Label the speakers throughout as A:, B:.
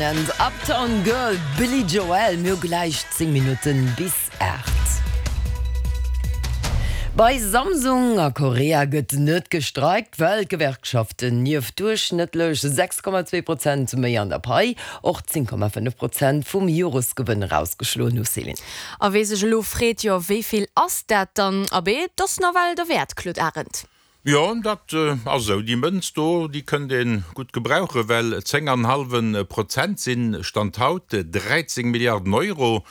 A: And Uptown Girl, Billy Joel. Mir hu gläich 10 Minutten bis 8. Bei Samsung a Korea gëtt net gestreikt, well d'Gewerkschaften nieft duerchschnëttlech 6,2 Prozent méi an der Pai och 10,5 Prozent vum Joresgewënn erausgeschloen hu. Céline.
B: A wee sech elo freet, jo wéi vill ass dat dann? Abee, 't ass nawell derwäert, Claude Arend.
C: Jo, dat ass esou. Déi Mënz do, déi kënnt ee gutt gebrauchen, well 10 an hallwe Prozent sinn, Stand haut, 13 Milliarden Euro,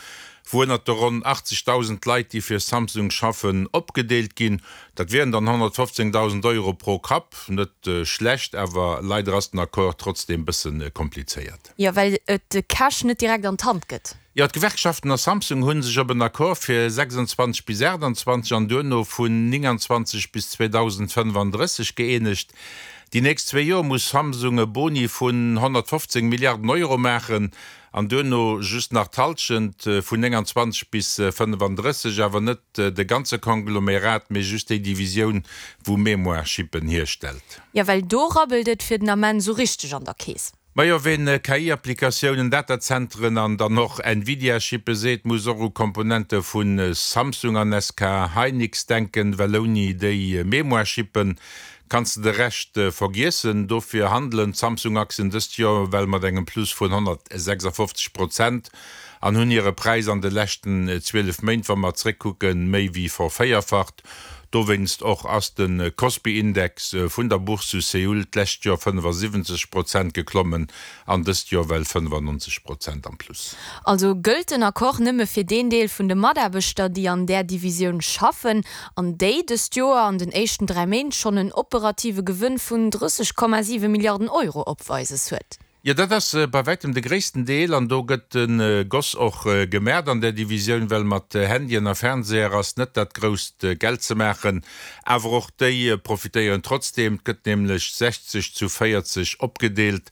C: wou ënnert de ronn 80.000 Leit, déi fir Samsung schaffen, opgedeelt ginn. Dat wieren dann 115.000 Euro pro Kapp. Net schlecht, awer leider ass den Accord trotzdeem bësse komplizéiert.
B: Jo, well et de Cash net direkt an d'Hand gëtt.
C: Jo, d'Gewerkschaften a Samsung hu sech op en Accord fir 26 bis 28 an duerno vun 29 bis 2035 gëeenegt. Déi nächst zwee Joer muss Samsung e Boni vun 115 Milliarden Euro maachen an duerno just nach d'Hallschent, vun 29 bis 35, awer net de ganze Konglomerat, mee just déi Divisioun, wou Memoire-Chippen hierstellt.
B: Jo, well do rabbelt et fir den Ament esou richteg an der Keess.
C: Majo, ween KI-Applikatiounen, Datazenteren an dann och Nvidia-Chippe seet, muss och u Komponente vu Samsung an SK Hynix denken, well ouni déi Memoire-Chippe kanns de de Rescht vergiessen. Dofir handelen d'Samsung-Aktien dëst Joer well mat engem Plus vun 156 Prozent an hunn hire Präis an de leschten 12 Méint, wa mer zréckkucken, méi wéi vervéierfacht. Dowéinst och ass de Kospi-Index vun der Bourse zu Seoul d'lescht Joer 75 Prozent geklommen an dëst Joer well 95 Prozent am Plus.
B: Also gëllt den Accord nëmme fir deen Deel vun de Mataarbechter, déi an där Divisioun schaffen an déi dëst Joer an den éischten 3 Méint schonn en operative Gewënn vun 30,7 Milliarden Euro opweises huet.
C: Jo, dat ass bei wäitem de gréissten Deel an do gëtt de Goss och gemaacht an där Divisioun, well mat Handyen a Fernseher ass net dat grousst Geld ze maachen. Awer och déi profitéieren trotzdeem, et gëtt nämlech 60 zu 40 opgedeelt.